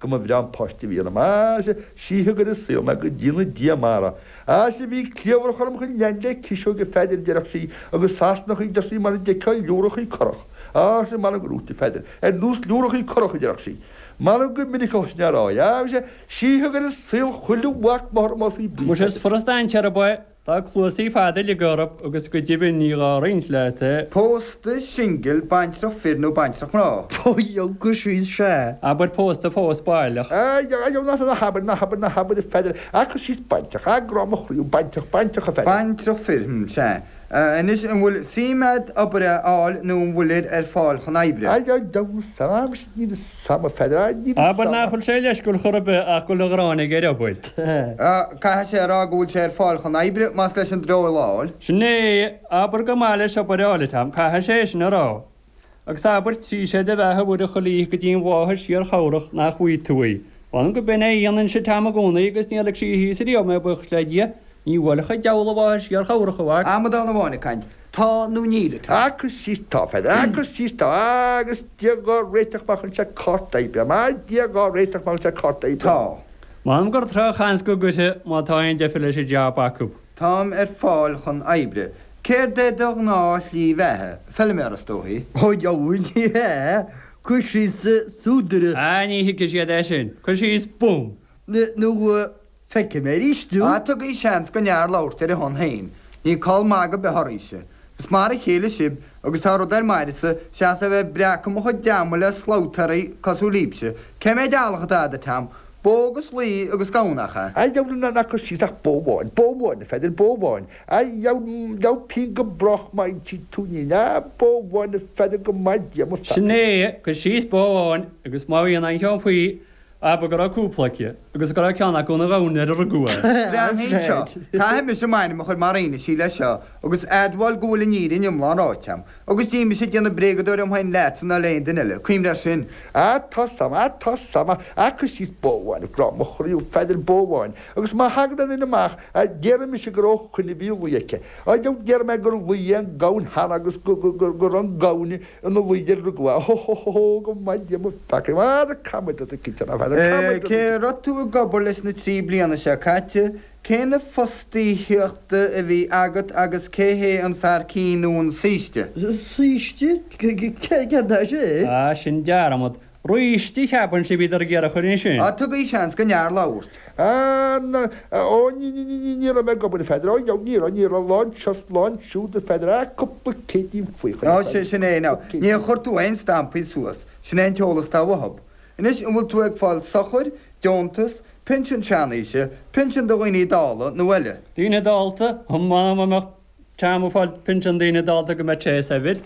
Go mba bhreá an páiste a bhí ionam. Á, sea, síothaigh ar an saol mé, go ndéana Dia mara. Á, sea, bhí cliabhrach orm chun lean le ciseog a Pheadair, a déarfadh sí, agus Sasanachaí, a deir sí, mar a d'fheicfeá liúrachaí curach. Á, sea, m'anam go raibh, a Pheadair, ar nós liúrachaí curach, a déarfadh sí. M'anam go minic a thosnaigh á rá é. Á, sea, síothaigh ar an saol chuile mhac máthar más í buí, Muise a is Pheadair. furasta ainsear ab ea Tá cluasaí fada uilig orthu agus go deimhin ní gá roinnt leat é. Pósta, singil, baintreach fir nó baintreach mná? Ó cuir síos sea. Abair pósta fós baileach. Ná habair, ná habair, ná habair a Pheadair, a cuir síos baintreach, a grá mo chroí, baintreach, baintreach a Pheadair. Baintreach fir, hm, sea. Anois, an bhfuil suim a'd obair a fháil nó an bhfuilir ar fáil chun oibre? Níl 'fhios a'm a Pheadair, níl 'fhios a'm. Abair nach bhfuil sé leisciúil chor ar bith ach go bhfuil an ghráin aige ar obair. Caithfidh sé a rá go bhfuil sé ar fáil chun oibre, más leis an dreoil a fháil. Sin é, abair gur maith leis obair a fháil, a Tom, caithfidh sé é sin a rá. Agus abair trí sé de bheatha mhuire chuile oíche go dtí an mháthair síor-chabhrach nach bhfaighidh tú í. Mh'anam go b'in é a dhéanainnse Tom i gcónaí agus níor lig sí thíos ariamh mé buíochas le Dia. Ní bhuailfeadh an diabhal an mháthair síor-chabhrach, a mhac. Amadán amháin ag caint. Tá nó níl, a Tom? Ah, cuir síos tá, a Pheadair, ah, cuir síos tá, agus Dia dhá réiteach má chuireann sé cárta oibre, má Dia dhá réiteach má chuireann sé cárta oibre. Tá. M'anam gur drochsheans go gcuirfidh má tá aon deifir leis an jab acu. Táim ar fáil chun oibre. Céard é do ghnáth-shlí bheatha? Feilméara, is dóichí. Ó, dheabhail, ní hea. Cuir síos súdaire. Ah, ní thuigfidh siad é sin. Cuir síos bum. Nó Feicfidh mé arís thú. Ah, tugaigí seans don fhear labhairt ar a shon féin. Níl call magaidh ar bith oraibhse. Is mar a chéile sibh, agus tá rud ar m'aire-sa, seachas a bheith ag breacadh mo chuid ama le slabhtaeirí cosúil libhse. Cé mhéid eallach atá agat, a Tom? Bó agus lao agus gamhain, nach ea? A dheabhail ná cuir síos ach bó amháin, bó amháin, a Pheadair, bó amháin. A dheabhail, dheabhail pingin go brách má insíonn tú nín. A, bó amháin, a Pheadair, go maith Dia mo pheacaí. Sin é, cuir síos bó amháin, agus má bhíonn aon cheann faoi, Abair go raibh cúpla aici, agus go raibh ceann acu ina ghamhain nuair a rugadh é. Breathnaigh anseo, caithfidh mise m'ainm a chur mar fhianaise leis seo, agus admháil go bhfuil an fhírinne iomlán ráite a'm, agus níl mise ag déanamh bréagadóir orm féin leatsa ná le aon duine eile, cuimhnigh air sin. Á, tá 's a'm, á, tá 's a'm, á, cuir síos bó amháin, grá mo chroí, a Pheadair, bó amháin, agus má thagann aon duine amach, á, déarfaidh mise gur ó choinnibh a bhí lao aici. Á, déarfaidh mé gur lao é an gamhain cheana agus go, go, go, go raibh an gamhain Ina lao nuair a rugadh é. Hó hó hó hó go maith Dia mo pheacaí. Ara caithfidh muid cinnte ná feadar. Caithfidh muid Cé raibh tú ag obair leis na 3 bliana seo caite? Cé na fostaíochta a bhí agat agus cé hé an fear cinn nó an saoiste? Saoiste? Céard é sin? Ah, sin dearmad. Raoiste, cheapfainnse a bhíodar ag iarraidh a chur ansin. Á, tugaigí seans don fhear labhairt. Á, ná, ó, ní, ní, ní, ní, ní raibh mé ag obair, a Pheadair, ó, dheabhail, ní raibh, ní raibh, lá anseo 's lá ansiúd, a Pheadair, á, cúpla céidín faoi choinne, Á, sin é, now, níor chuir tú aon stampaí suas, sin é an t-eolas atá uathub. Anois, an bhfuil tú ag fáil sochair, deontas, pinsean seanaoise, pinsean do dhaoine dalla, nó eile? Daoine dálta? M'anam dá mbeadh Tom ag fáil pinsean daoine dálta go mbeadh sé saibhir.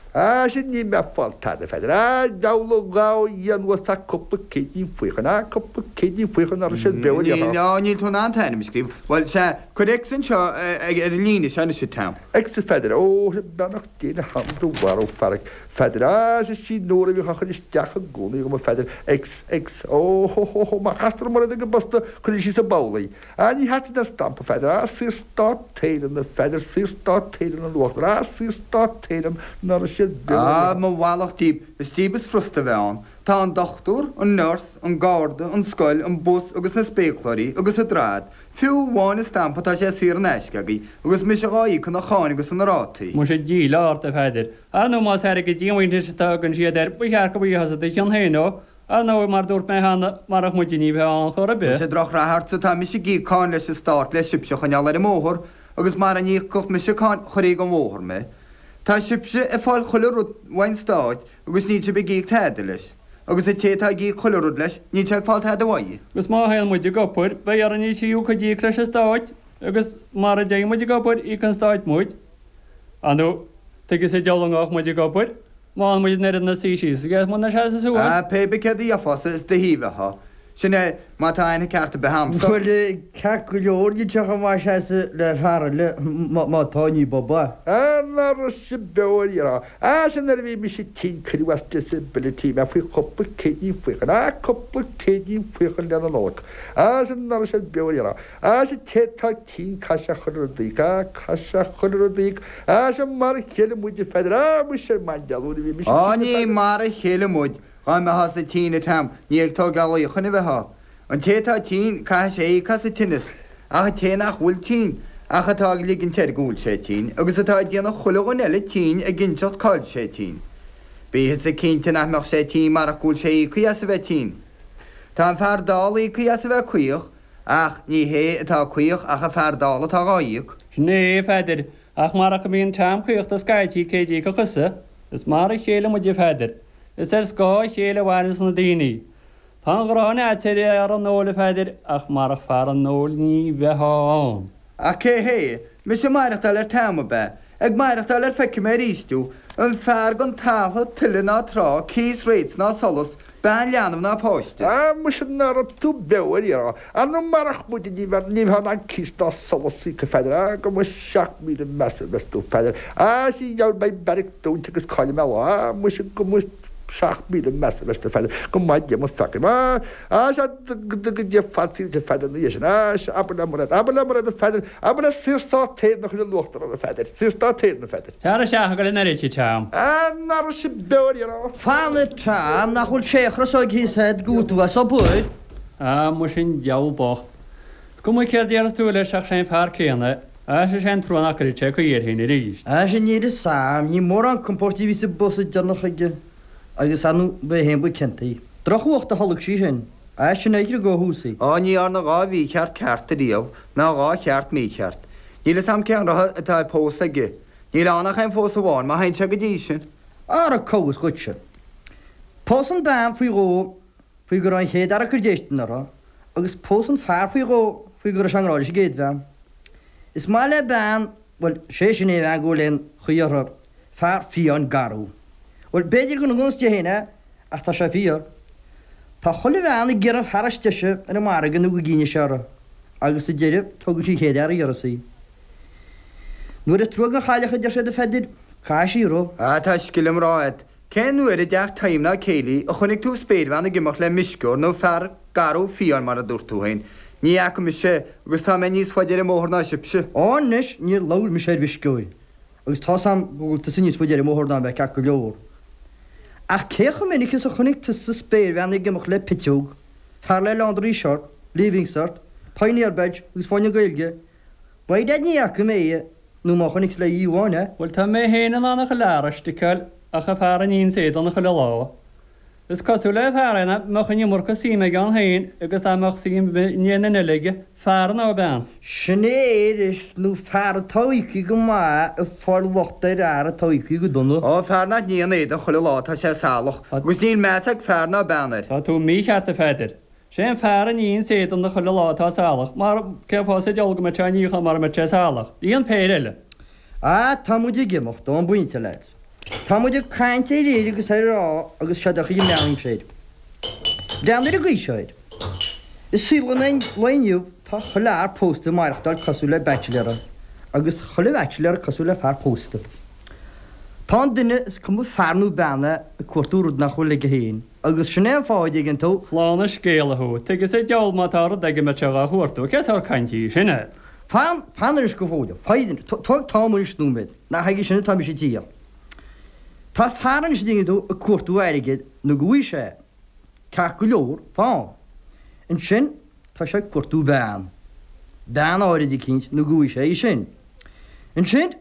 Á, sin níl mé ag fáil tada, a Pheadair. Á, deabhal a ghabh a Dhia anuas ach cúpla céidín faoi choinne. Á, cúpla céidín faoi choinne ná raibh siad beo ariamh. Níl, á, níl tú in ann t'ainm a scríobh. Bhuel, sea, cuir X anseo ar an líne seo anois, a Tom. X, a Pheadair. Ó, sea, beannacht Dé le hanam do mharbh fear, a Pheadair. Á, sea, sí Nóra a bhíodh á chur isteach i gcónaí agam, a Pheadair. X, X. Ó, hó, hó, hó, má chastar orm rud ag an bposta, cuirfidh sí sa bpoll í. Á, ní theastaíonn aon stampa, a Pheadair, á, Saorstát Éireann, a Pheadair, Saorstát Éireann an uachtar, á, Saorstát Éireann, ná raibh siad beo Á, mo mhallacht díbh, is díbh is frusta a bheith ann. Tá an dochtúir, an nurse, an garda, an scoil, an bus agus na spéacláirí, agus an droichead. Fiú amháin an stampa tá sé saor in aisce agaibh, agus mise dhá íoc ina cháin agus ina rátaí. Muise díleá ort, a Pheadair. Ar ndóigh más airgead díomhaointis atá a thugann siad air, ba cheart go bhfaighfeá-sa do chion féin ó. Ar ndóigh, mar dúirt mé cheana, marach muide ní bheifeá ann chor ar bith. Muise drochrath ortsa, tá mise ag íoc cáin leis an stát le sibhse a choinneáil ar an mbóthar, agus mara n-íocfadh mise cáin, chuirfí den bhóthar mé. Tá sibhse ag fáil chuile rud uaidh an stát agus níl sibh ag íoc tada leis, agus an té atá ag íoc chuile rud leis, níl sé ag fáil tada uaidh. Agus má théann muid ag obair, beidh orainn an tríú cuid a íoc leis an stát, agus mara dtéann muid ag obair, íocann an stát muid. Ar ndóigh, tuige sa diabhal a ngabhfadh muid ag obair? Má fhaigheann muid an oiread ina suí síos agus muna seasamh suas. Ah, pé bith céard a dhéarfása, is do thaobh atá. Sin é, má tá aithne ceart ar bith a'msa. Bhuel, ceart go leor, níl sé chomh maith seasamh le fear eile, má tá, ní ba ba. Ah, ná raibh sibh beo ariamh. Ah, sin nuair a bhí mise tinn cuireadh as disability mé faoi chúpla céidín faochain. Ah, cúpla céidín faochain le na Nollag. Ah, sin ná raibh siad beo ariamh. Ah, sea, té tá tinn caithfidh sé chuile rud a íoc, ah, caithfidh sé chuile rud a íoc, ah, sea, mar a chéile muid a Pheadair, ah, muise ar maidin Dé Luain a bhí mise Á tinn a ní Pheadair. mar a chéile muid. Dhá mbeitheása tinn, a Tom, ní ag tóigeáil luíochain a bheitheá. An té atá tinn, caithfidh sé íoc as an tinneas, ach an té nach bhfuil tinn, ach atá ag ligint air go bhfuil sé tinn, agus atá ag déanamh chuile dhuine eile tinn ag inseacht cá'il sé tinn. Bítheasa cinnte nach mbeadh sé tinn marach go bhfuil sé íoctha as a bheith tinn. Tá an fear dall íoctha as a bheith caoch, ach ní hé atá caoch ach an fear dall atá dhá íoc. Sin é, a Pheadair, ach marach go mbíonn Tom caochta scaití cé d'íocfadh thusa? Is mar a chéile muid, a Pheadair. Is ar scáth a chéile a mhaireanns na daoine. Tá an ghráin a'd ar fhear an óil, a Pheadair, ach marach fear an óil ní bheitheá ann. Ach cé hé? Mise ag maireachtáil ar Tom, ab ea? Ag maireachtáil ar feicfidh mé arís thú, an fear gan talamh, tuile ná trá, cíos rates ná solas, bean leanbh ná páiste. Á, muise ná raibh tú beo ar iarraidh. Ar ndóigh marach muide ní bheadh ní bheifeá in ann cíos ná solas a íoc, a Pheadair. Á, go mba 7000 measa a bheas tú, a Pheadair. Á, sea, gheall beidh beairic dúnta agus caillfidh mé lá. Á, muise go mba 7000 measa a bheas tú, a Pheadair. Go maith Dia mo pheacaí. Á, á, sea, go dté fad saoil duit, a Pheadair, ina dhiaidh sin. Á, sea, abair le Mairéad, abair le Mairéad, a Pheadair, abair le Saorstát Éireann a chur in uachtar air, a Pheadair. Saorstát Éireann, a Pheadair. Tar isteach ag goil an oiread, a Tom. Á, ná raibh sibh beo ar iarraidh. Fan, a Tom, nach bhfuil sé chrosóig thíos agat go bhfuil tú as obair? Á, muise an diabhal bocht. Is cuma céard a déarfas tú leis ach sé an fear céanna é. Á, sé an trua nach gcuirfidh sé caoi air féin arís. Á, sea, níl fhios a'm, ní mórán compóirt a bhí sa bpósadh deireanach aige agus ar ndóigh ba é féin ba ciontaí. Drochfhuacht a tholg sí sin. Á, sin é a chriogadh ó thús í. Á, ní dhearna 2 mhícheart ceart ariamh, ná 2 cheart mícheart. Níl fhios a'm cén rotha atá ag pósadh aige. Níl ann ach aon phósadh amháin, má théann sé go dtí sin. Ara cá bhfios dhuitse. Pósann bean faoi dhó faoi go raibh an chéad fhear ag cur déistin uirthi, agus pósann fear faoi dhó faoi go raibh sé i ngrá leis an gcéad bhean. Is maith le bean, bhuel, sé sin aon bhean go bhfuil aon chaoi uirthi, fear fiáin garbh. Bhuel, b'fhéidir gur nós di féin é, ach tá sé fíor. Tá chuile bhean ag iarraidh an fear is deise ar an margadh nó go gcinnfidh sé uirthi, agus sa deireadh, tógann sí an chéad fhear a iarras í. Nuair is trua don chailleach a deir siad a Pheadair, caithfidh sí rith. Ah, tá scil i mná agat. Cén uair i dteach Tom ná céilí a chonaic tú spéirbhean ag imeacht le meisceoir nó fear garbh fiáin mar a dúirt tú féin? Ní fhaca mise é agus tá mé níos faide ar an mbóthar ná sibhse. Á anois, níor labhair mise ar mheisceoir agus tá's a'm go bhfuil tusa níos faide ar an mbóthar ná mé ceart go leor. Ach cé chomh minic is a chonaic tusa spéirbhean ag imeacht le piteog, fear le laundry shirt, leaving cert, pioneer badge agus fáinne Gaeilge? By dad ní fhaca mé é, nó má chonaic is le oíche amháin é. Bhuel tá mé féin in ann a chuile fhear a sticeáil ach an fear a níonns éadan chuile lá. Is cosúil le fear é ná mbeadh an iomarca suim aige ann féin agus dá mbeadh suim in aon duine eile aige, fear nó bean. Sin é arís, nó fear atá íoctha go maith ag fáil locht ar fhear atá íoctha go dona. Ó, fear nach níonn éadan chuile lá tá sé salach agus níl meas ag fear ná bean air. Tá tú mícheart a Pheadair. Sé an fear a níonns éadan chuile lá atá salach, mar cén fáth sa diabhal go mbeadh sé á níochán mara mbeadh sé salach? Bhí an péire eile. Ah, tá muid ag imeacht ón bpointe, lads. Tá muid ag caint ar fhir agus ar mhná agus seo do chuid meánaimsir air. Breathnaigh ar an gcaoi seo air. I saol an lae inniu tá chuile fhear pósta ag maireachtáil cosúil le bachelor agus chuile bhachelor cosúil le fear pósta. Tá an duine, is cuma fear nó bean é, ag cuartú rud nach bhfuil aige féin. Agus sin é an fáth, a dtuigeann tú. Slán an scéala thú. Tuige sa diabhal má tá rud aige a mbeadh sé dhá chuartú. Cé sórt cainte í sin é? Fan, fan anois go fóill. Foighid anois. Tóg Tom anois nóiméad. Nach aige sin atá mise ag tíocht. Tá fear anois, a dtuigeann tú, ag cuartú airgid nó go bhfaighidh sé é. Ceart go leor, fan. Ansin, tá sé ag cuartú bean. Bean áirid eicínt nó go bhfaighidh sé í sin. Ansin,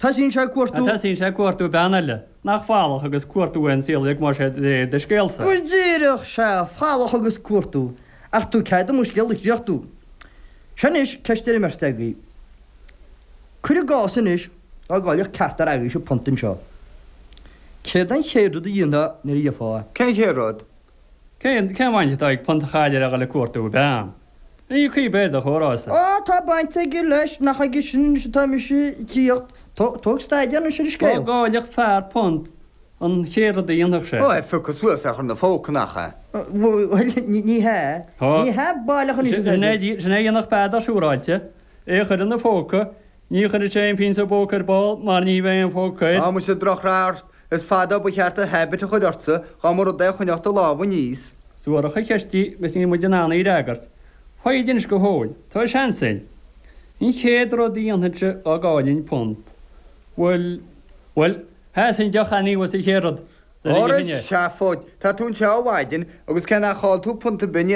Tosaíonn sé ag cuartú. Tosaíonn sé ag cuartú bean eile. Nach falach agus cuartú é an saol uilig más é de réir do scéalsa. Go díreach, sea, falach agus cuartú. Ach tabhair cead dom mo scéal a chríochnú. Seo anois ceist ar an mbeirt agaibh. Cuir i gcás anois dá gcaillfeadh ceachtar agaibhse punt anseo. Céard an chéad rud a dhéanfá nuair a gheofá é? Cén chéad rud? Cén bhaint atá ag punt a chailleadh le dhul ag cuartú bean? Ní cuí b'fhéidir do chomhrá-sa. Á, tá baint aige leis, nach aige sin anois atá mise ag tíocht. Tóg staidear anois ar an Dá scéal. gcaillfeadh fear punt an chéad rud a dhéanfadh sé. Ó, é a phiocadh suas é a chur ina phóca, nach ea? Bhuel, ní hea. Ní hea baileach anois, a Pheadair. Sin é a dhéanfadh Peadar siúráilte. É a chur ina phóca. Ní chuirfeadh sé aon phingin sa bpóca ar ball mar ní bheadh aon phóca air. Á, muise drochradharc. Is fada ó ba cheart an habit a chur ortsa dá mba rud é a choinneodh do lámha aníos. Suarach an cheist í agus níl muid in ann í a fhreagairt. Foighid anois go fóill. Tá seans againn. An chéad rud a dhéanfainnse dá gcaillfinn punt, bhuel, bhuel, sheasfainn deoch aníos an chéad rud. Óra seafóid, tá tú anseo ó mhaidin agus cé nach chaill tú punt ar bith níor.